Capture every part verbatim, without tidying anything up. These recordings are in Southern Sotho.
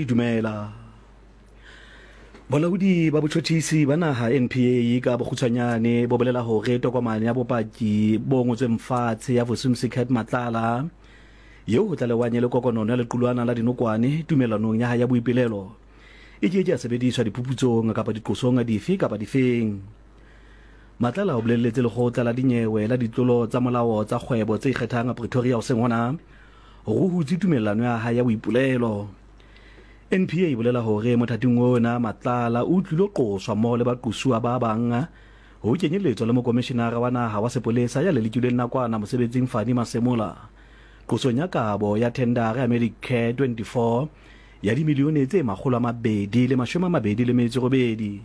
Dumela. Bolaodi ba botjhotjhisi ba naha N P A ka bokgutshwanyane bo bolela hore tokomane ya bopaki bo ngotsweng fatshe ya Vusumuzi Cat Matlala eo ho tlalewang e le kokonono ya lequlwana la dinokwane tumellanong ya hae ya boipolelo e ke ke ya sebediswa diphuputsong kapa diqosong dife kapa difeng. Matlala o bolelletse lekgotla la dinyewe la ditlolo tsa molao tsa kgwebo tse ikgethang Pretoria hoseng hona hore o hutse tumellano ya hae ya boipolelo. N P A e bolela hore mothating ona Matlala o tlilo qoswa mmoho le baqosuwa ba bang ho kenyelletswa le mokomishenara wa naha wa sepolesa ya lelekilweng nakwana mosebetsing Fani Masemola qosong ya kabo ya thendara ya Medicare twenty-four ya dimilione tse makgolo a mabedi le mashome a mabedi le metso e robedi.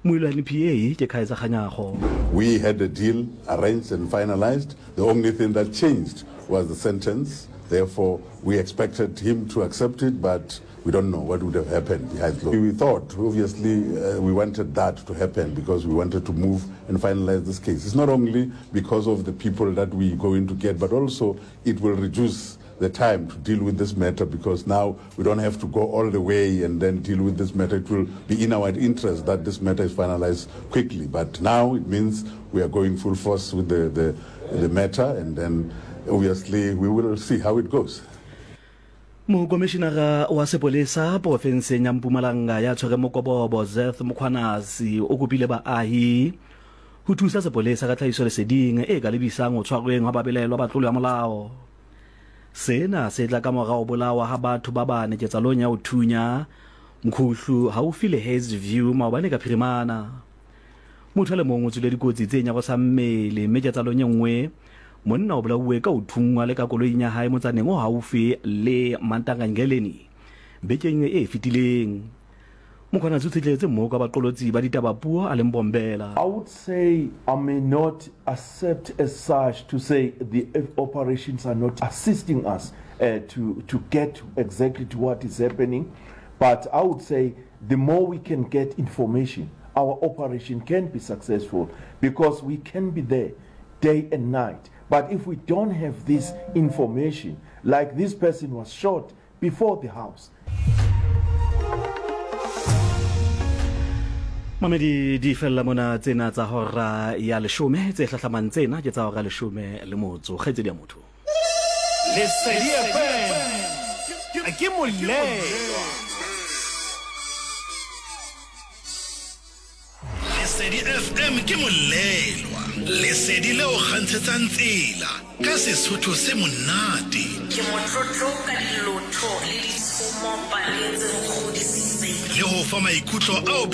Moilo wa N P A ke Kaizer Kganyago. We had a deal arranged and finalized. The only thing that changed was the sentence. Therefore, we expected him to accept it, but we don't know what would have happened behind closed. We thought, obviously, uh, we wanted that to happen because we wanted to move and finalize this case. It's not only because of the people that we're going to get, but also it will reduce the time to deal with this matter, because now we don't have to go all the way and then deal with this matter. It will be in our interest that this matter is finalized quickly. But now it means we are going full force with the, the, the matter, and then obviously we will see how it goes. Mokomishinara wa sepolesa porofenseng ya Mpumalanga ya tshwere mokobobo Zeth Mkhwanazi o kopile baahi ho thusa sepolesa ka tlhahisoleseding e ka lebisang ho tshwarweng ha babelaelwa ba tlolo ya molao. Sena se tla ka mora ho bolawa ha batho ba bane ketsahalong ya ho thunya Mkhuhlu haufi le Hazyview maobane ka phirimana. Motho a le mong o tswile dikotsi tse nyarosang mmele, mme ketsahalong e nngwe monna o bolauwe ka ho thunngwa le ka koloing ya hae motsaneng o haufi le Mantangangeleni bekeng e fetileng. Mkhwanazi o tshetletse mmoho ka baqolotsi ba ditaba puo a leng Bombela. I would say I may not accept as such to say the operations are not assisting us uh, to, to get exactly to what is happening, but I would say the more we can get information, our operation can be successful, because we can be there day and night. But if we don't have this information, like this person was shot before the house. Mamedi di fella mona tsena tsa hora ya leshome, tse hlahlamang tsena ke tsa hora leshome le motso. Kgaitsedi ya motho. Lesedi F M ke molelwa. Lesedi F M ke molelwa. Lesedi leo kgantshetsang tsela ka Sesotho se monate. Ke motlotlo ka dilotho le ditshomo paleng tse nkgodisitseng. Le ho fa maikutlo ao be